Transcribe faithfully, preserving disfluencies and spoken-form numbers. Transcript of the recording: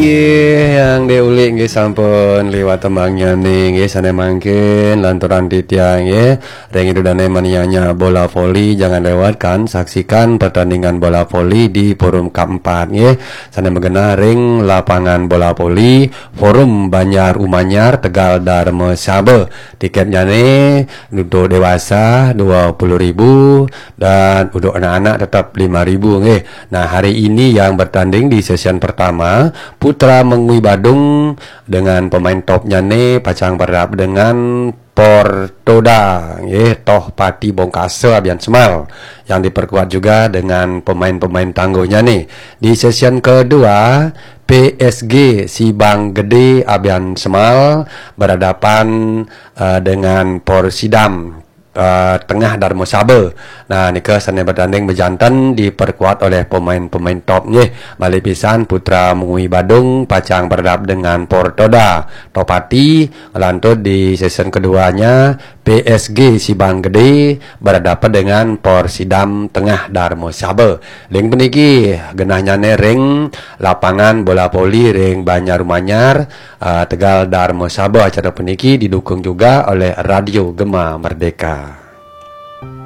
Yang diulik nggih sampun liwat tembangnyané nggih sané mangkin lanturan titiang nggih. Ring Ida Dané manianya bola voli, jangan lewatkan saksikan pertandingan bola voli di Forum K empat nggih. Sané magenah ring lapangan bola voli Forum Banjar Umanyar, Tegal, Darmasaba. Tiketnyané untuk dewasa dua puluh ribu dan untuk anak-anak tetap lima ribu nggih. Nah, hari ini yang bertanding di sesi pertama, Putra Mengwi Badung dengan pemain topnyané pacang berhadapan dengan Portoda nggih, Tohpati Bongkasa Abiansemal, yang diperkuat juga dengan pemain-pemain tangguhnyané. Di sesi kedua, P S G Sibang Gedé Abiansemal berhadapan eh, dengan Porsidam eh, Tengah Darmasaba. Nah, nika sané bertanding bejanten diperkuat oleh pemain-pemain top nggih. Malih pisan Putra Mengwi Badung pacang berhadapan dengan Portoda Tohpati, ngelantur di sesi keduanya P S G Sibang Gedé berhadapan dengan Porsidam Tengah Darmasaba. Ring puniki genahnyané ring lapangan bola voli ring Banjar Umanyar, eh, Tegal, Darmasaba. Acara puniki didukung juga oleh Radio Gema Merdeka.